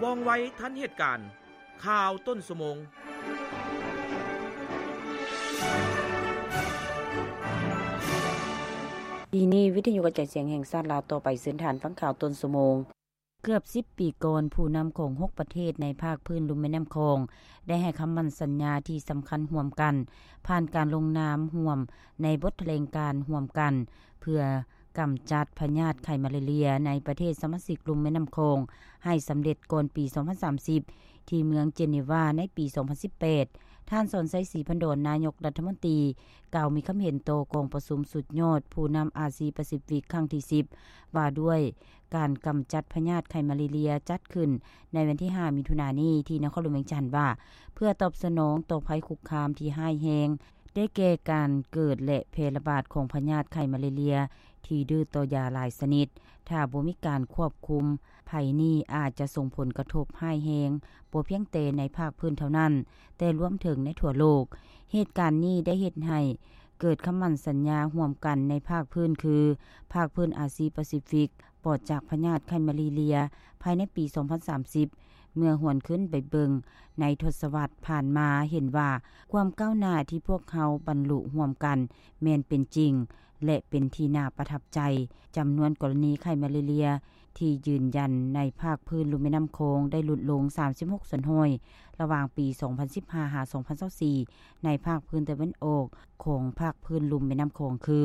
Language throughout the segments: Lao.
ວ່ອງໄວທັນເຫດການ. ຂ່າວຕົ້ນຊົ່ວໂມງ. ປີນີ້ ວິທະຍຸກະຈາຍສຽງແຫ່ງຊາດລາວຕໍ່ໄປເຊີນທ່ານຟັງຂ່າວຕົ້ນຊົ່ວໂມງ. ເກືອບສິບປີກ່ອນ, ຜູ້ນຳຂອງຫົກປະເທດໃນພາກພື້ນລຸ່ມແມ່ນ້ຳຂອງ ໄດ້ໃຫ້ຄຳໝັ້ນສັນຍາທີ່ສຳຄັນຮ່ວມກັນ, ຜ່ານການລົງນາມຮ່ວມໃນບົດຖະແຫຼງການຮ່ວມກັນ ເພື່ອກຳຈັດພະຍາດໄຂ້ມາລາເຣຍໃນປະເທດສະມາຊິກລຸ່ມແມ່ນ້ຳຂອງໃຫ້ສຳເລັດກ່ອນປີສອງພັນສາມສິບ ທີ່ເມືອງເຈນີວາໃນປີສອງພັນສິບແປດ. ທ່ານ ສອນໄຊ ສີພັນດອນ ນາຍົກລັດຖະມົນຕີ ກ່າວມີຄຳເຫັນຕໍ່ກອງປະຊຸມສຸດຍອດຜູ້ນຳອາຊີປາຊີຟິກຄັ້ງທີສິບ ວ່າດ້ວຍ ການກຳຈັດພະຍາດໄຂ້ມາລາເຣຍ ຈັດຂຶ້ນໃນວັນທີຫ້າ ມິຖຸນານີ້ ທີ່ນະຄອນຫຼວງວຽງຈັນ ວ່າ ເພື່ອຕອບສະໜອງຕໍ່ໄພຄຸກຄາມທີ່ຮ້າຍແຮງ ໄດ້ແກ່ການເກີດ ແລະ ແຜ່ລະບາດຂອງພະຍາດໄຂ້ມາລາເຣຍທີ່ດື້ຕໍ່ຢາຫຼາຍຊະນິດ. ຖ້າບໍ່ມີການຄວບຄຸມ, ໄພນີ້ອາດຈະສົ່ງຜົນກະທົບຮ້າຍແຮງ ບໍ່ພຽງແຕ່ໃນພາກພື້ນເທົ່ານັ້ນ, ແຕ່ລວມເຖິງໃນທົ່ວໂລກ. ເຫດການນີ້ໄດ້ເຮັດໃຫ້ເກີດຄຳໝັ້ນສັນຍາຮ່ວມກັນໃນພາກພື້ນ ຄື ພາກພື້ນອາຊີປາຊີຟິກ ປອດຈາກພະຍາດໄຂ້ມາລາເຣຍ ພາຍໃນປີສອງພັນສາມສິບ. ເມື່ອຫວນຄືນໄປເບິ່ງໃນທົດສະວັດຜ່ານມາ ເຫັນວ່າຄວາມກ້າວໜ້າທີ່ພວກເຮົາບັນລຸຮ່ວມກັນແມ່ນເປັນຈິງ ແລະ ເປັນທີ່ໜ້າປະທັບໃຈ. ຈຳນວນກໍລະນີໄຂ້ມາລາເຣຍທີ່ຢືນຢັນໃນພາກພື້ນລຸ່ມແມ່ນ້ຳຂອງໄດ້ຫຼຸດລົງສາມສິບຫົກສ່ວນຮ້ອຍ ລະຫວ່າງປີສອງພັນສິບຫ້າ ຫາ ສອງພັນຊາວສີ່ ໃນພາກພື້ນຕາເວັນອອກຂອງພາກພື້ນລຸ່ມແມ່ນ້ຳຂອງ ຄື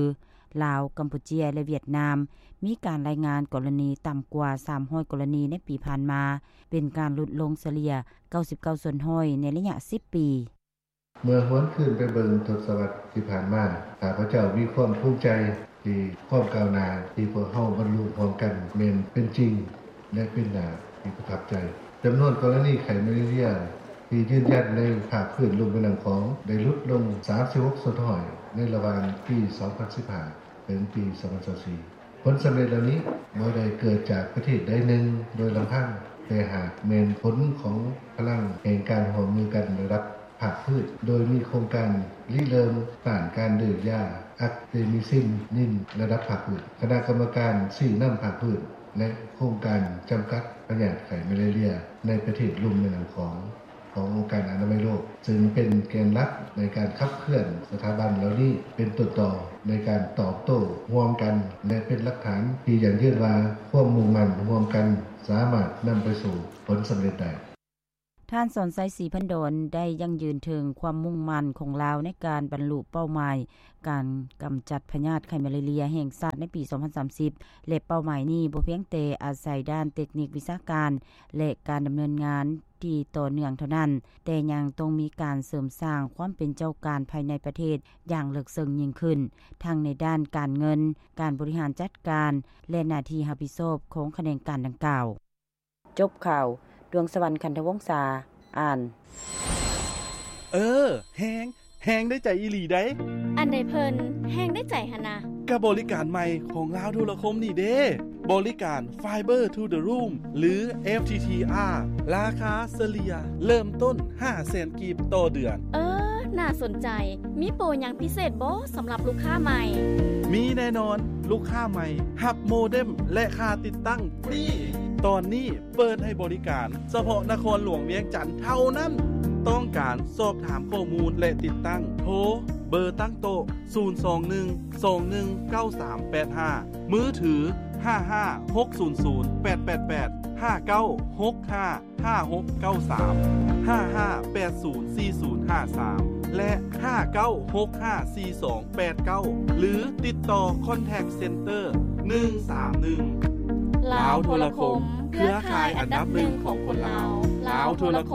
ລາວ, ກຳປູເຈຍ ແລະ ຫວຽດນາມ, ມີການລາຍງານກໍລະນີຕ່ຳກວ່າສາມຮ້ອຍກໍລະນີໃນປີຜ່ານມາ, ເປັນການຫຼຸດລົງສະເລ່ຍເກົ້າສິບເກົ້າສ່ວນຮ້ອຍໃນໄລຍະສິບປີ. ເມື່ອຫວນຄືນໄປເບິ່ງທົດສະວັດທີ່ຜ່ານມາ, ຂ້າພະເຈົ້າມີຄວາມພູມໃຈທີ່ຄວາມກ້າວໜ້າທີ່ພວກເຮົາບັນລຸຮ່ວມກັນແມ່ນເປັນຈິງ ແລະ ເປັນໜ້າທີ່ປະທັບໃຈ. ຈຳນວນກໍລະນີໄຂ້ມາລາເຣຍທີ່ຢືນຢັນໃນພາກພື້ນລຸ່ມແມ່ນ້ຳຂອງໄດ້ຫຼຸດລົງສາມສິບຫົກສ່ວນຮ້ອຍໃນລະຫວ່າງປີສອງພັນສິບຫ້າ ເຖິງປີສອງພັນຊາວສີ່. ຜົນສຳເລັດເຫຼົ່ານີ້ບໍ່ໄດ້ເກີດຈາກປະເທດໃດໜຶ່ງໂດຍລຳພັງ, ແຕ່ຫາກແມ່ນຜົນຂອງພະລັງແຫ່ງການຮ່ວມມືກັນລະດັບພາກພື້ນ, ໂດຍມີໂຄງການລິເລີ່ມຕ້ານການດື້ຢາອາເຕມິຊິນນິນລະດັບພາກພື້ນ, ຄະນະກຳມະການຊີ້ນຳພາກພື້ນ ແລະ ໂຄງການຈຳກັດພະຍາດໄຂ້ມາລາເຣຍໃນປະເທດລຸ່ມແມ່ນ້ຳຂອງ ຂອງອົງການອະນາໄມໂລກ, ເຊິ່ງເປັນແກນຫຼັກໃນການຂັບເຄື່ອນສະຖາບັນເຫຼົ່ານີ້ເປັນຕົ້ນຕໍໃນການຕອບໂຕ້ຮ່ວມກັນ ແລະ ເປັນຫຼັກຖານທີ່ຢັ້ງຢືນວ່າຄວາມມຸ່ງໝັ້ນຮ່ວມກັນສາມາດນຳໄປສູ່ຜົນສຳເລັດໄດ້. ທ່ານ ສອນໄຊ ສີພັນດອນ ໄດ້ຢັ້ງຢືນເຖິງຄວາມມຸ່ງໝັ້ນຂອງລາວໃນການບັນລຸເປົ້າໝາຍການກຳຈັດພະຍາດໄຂ້ມາລາເຣຍແຫ່ງຊາດໃນປີສອງພັນສາມສິບ ແລະ ເປົ້າໝາຍນີ້ບໍ່ພຽງແຕ່ອາໄສດ້ານເຕັກນິກວິຊາການ ແລະ ການດຳເນີນງານ ທີ່ຕໍ່ເນື່ອງເທົ່ານັ້ນ, ແຕ່ຍັງຕ້ອງມີການເສີມສ້າງຄວາມເປັນເຈົ້າການພາຍໃນປະເທດຢ່າງເລິກເຊິ່ງຍິ່ງຂຶ້ນ, ທັງໃນດ້ານການເງິນ, ການບໍລິຫານຈັດການ ແລະ ໜ້າທີ່ຮັບຜິດຊອບຂອງຂະແໜງການດັ່ງກ່າວ. ຈົບຂ່າວ, ດວງສະຫວັນ ຂັນທະວົງສາ ອ່ານ. ເອີ, ແຮງ, ແຮງໄດ້ໃຈອີ່ຫຼີໃດ໋. ອັນໃດເພິ່ນແຮງໄດ້ໃຈຫັ້ນນະ? ກະບໍລິການໃໝ່ຂອງລາວໂທລະຄົມນີ້ເດ້. ບໍລິການ Fiber to the Room ຫຼື FTTR ລາຄາສະເລ່ຍເລີ່ມຕົ້ນຫ້າແສນກີບຕໍ່ເດືອນ. ເອີ, ໜ້າສົນໃຈ. ມີໂປຫຍັງພິເສດບໍ່ສຳລັບລູກຄ້າໃໝ່? ມີແນ່ນອນ. ລູກຄ້າໃໝ່ຮັບໂມເດັມ ແລະ ຄ່າຕິດຕັ້ງຟຣີ. ຕອນນີ້ເປີດໃຫ້ບໍລິການສະເພາະນະຄອນຫຼວງວຽງຈັນເທົ່ານັ້ນ. ຕ້ອງການສອບຖາມຂໍ້ມູນ ແລະ ຕິດຕັ້ງ, ໂທເບີຕັ້ງໂຕະ ສູນສອງໜຶ່ງ ສອງໜຶ່ງ ເກົ້າສາມແປດຫ້າ, ມືຖື ຫ້າຫ້າຫົກສູນສູນແປດແປດແປດ ຫ້າເກົ້າຫົກຫ້າຫ້າຫົກເກົ້າສາມ, ຫ້າຫ້າແປດສູນສີ່ສູນຫ້າສາມ ແລະ ຫ້າເກົ້າຫົກຫ້າສີ່ສອງແປດເກົ້າ ຫຼື ຕິດຕໍ່ Contact Center ໜຶ່ງສາມໜຶ່ງ. ລາວໂທລະຄົມ, ເຄືອຂ່າຍອັນດັບໜຶ່ງຂອງຄົນລາວ. ລາວໂທລະຄົມ.